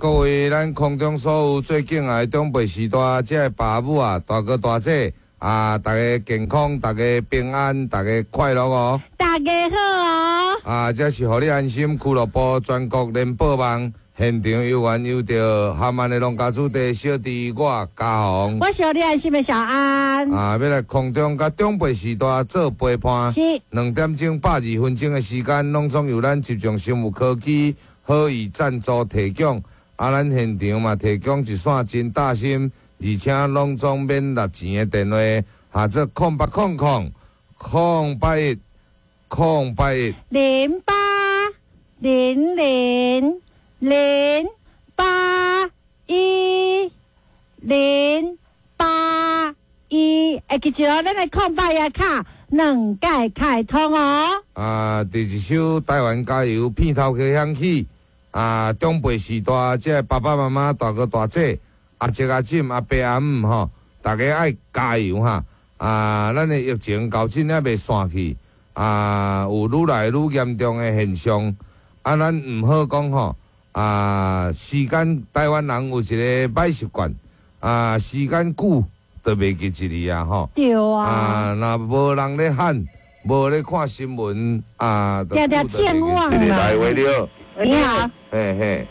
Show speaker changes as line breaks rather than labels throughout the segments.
各位咱空中所有最敬愛的長輩時代，這个爸母啊，大哥大姐啊，大家健康，大家平安，大家快樂哦！
大家好哦！
啊，這是予你安心俱樂部全國聯播網現場有緣有著含萬的農家子弟小弟我嘉宏，
我是予你安心的小安。
啊，欲來空中佮長輩時代做陪伴，2點鐘120分鐘的時間，攏總由咱集中生物科技好意贊助提供。啊，咱現場嘛提供一線真貼心，而且攏總免納錢的電話，號做0800 081 081
0800 081 081，會記住哦，咱的空八一卡兩屆開通哦。
啊，佇一首台灣加油片頭曲響起。啊，長輩時代，這个爸爸媽媽、大哥大姐、阿叔阿嬸、阿伯阿姆吼，大家愛加油哈！啊，咱的疫情到這猶未散去，啊，有愈來愈嚴重的現象。啊，咱毋好講吼，啊，時間台灣人有一个歹習慣，啊，時間久就袂記一字啊吼。
對啊。
啊，若無人咧喊，無咧看新聞，啊，
定定健忘啦。
來話了。
你好，
嘿嘿，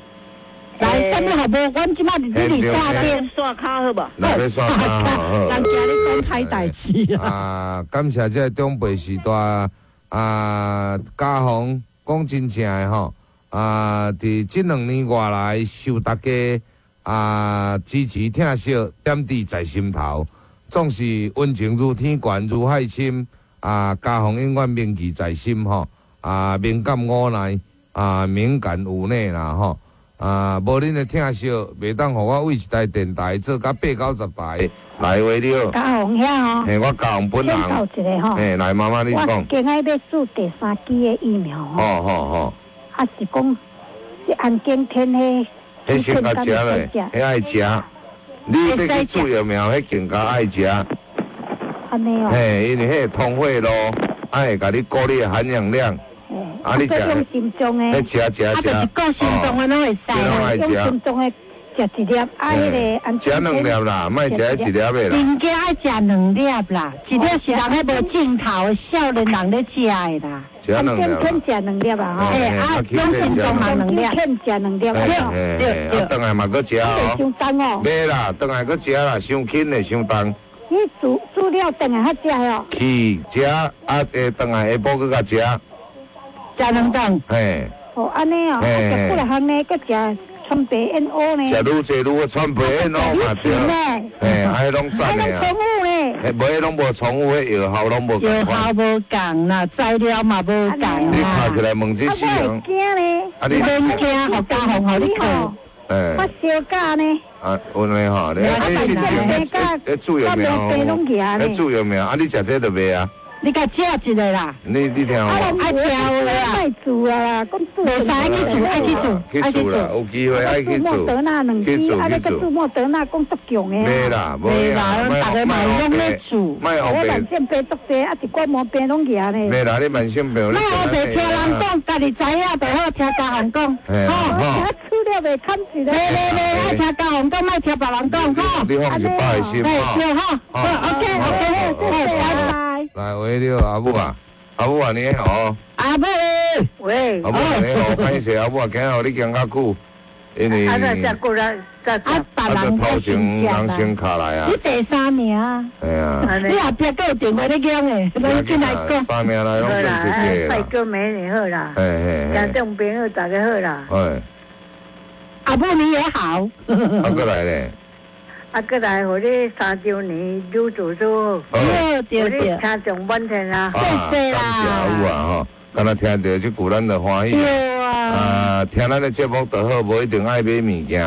來，啥物好無？阮這擺佇你線頂
刷卡好無？
來刷卡好。
人驚你講歹代誌
啊！啊，感謝這个長輩時代啊，嘉宏講真正的吼啊，佇這2年外來受大家啊支持疼惜，點滴在心頭，總是溫情如天懸如海深啊！嘉宏永遠銘記在心吼啊，敏感無奈。啊，敏感無奈啦吼！啊，無恁的疼惜，袂當予我為一台電台做甲八九十台來話了。
嘉宏遐吼，
嘿，我嘉宏本人。
一个吼。
嘿，來媽媽你講。
我今仔欲注第三劑的疫苗吼。
吼吼吼。
啊是講，這安檢天彼。
彼先共食咧，彼愛食。你欲去注疫苗，彼更加愛食。
按呢哦。
嘿，因為彼會通血路，啊會共你顧你的含氧量。啊！你食，
用心臟的，
食食食，
啊，就是顧心臟的攏會使。
用心臟的食一粒，啊，彼个
食兩粒啦，莫食一粒的啦。
人家愛食兩粒啦，一粒是人彼無鏡頭少年人咧食的啦。
食兩粒。
天食兩粒啊！吼。
欸啊，用心臟嘛兩粒，
天食兩粒。
對對對。啊，轉來嘛閣食哦。
傷重哦。
袂啦，轉來閣食啦，傷輕的，傷重。
你煮煮了轉來較食哦。
去食啊，下轉來下晡閣共食。
食兩頓。
嘿。
哦，按呢哦，啊，食幾若項呢，閣食川白燕窩呢。
食愈濟愈好，川白燕窩嘛對。嘿，啊，彼攏讚的啊。
攏重複呢。
嘿，無彼攏無重複，彼藥效攏無仝
藥效無仝啦，材料嘛無仝啦。
你卡起來問這死人。
驚呢。
啊，你
免驚，予嘉宏予你去。
欸。
我燒假呢。
啊，有呢吼，你你之前咧注疫苗，咧注疫苗，啊，你食這就袂啊？
你共食一个啦！
你聽有無？
愛聽有的啦。
愛注啊啦，講注。
袂使愛去注，愛去注，
去注啦，有機會愛去注。
莫德納兩支，啊，你閣注莫德納講足強的。
袂啦，袂啦，
逐个嘛攏咧注。
我慢性病足濟，啊，一寡毛病攏夯咧。
袂啦，你慢性病。
莫烏白聽人講，家己知影就好，聽嘉宏講。
吼。
注了袂堪一个。
袂袂袂，愛聽嘉宏講，莫聽別人講，吼。
你放一百個心，
對吼。好，OK OK，好，拜拜。
來，喂，你好，阿母啊，阿母啊，你好。
阿母，
喂。
阿母你好，歹勢，阿母啊，今日予你行較久，因為
啊，這過來，
啊，別人
頭前人先卡來啊。
你第三名。
嘿啊。
你後壁閣有電話咧講的，攏進來講。
三名來攏算客氣啦。
拜哥美女好啦。
嘿嘿嘿。
聽眾朋友大家好啦。
哎。
阿母你也好。
啊，閣來咧。
啊，閣來予你三週年愈做愈好，
對對對，
聽眾滿天啊！
謝謝啦。
感謝阿母啊吼，敢若聽著這句咱就歡喜。
對啊。
啊，聽咱的節目就好，無一定愛買物件。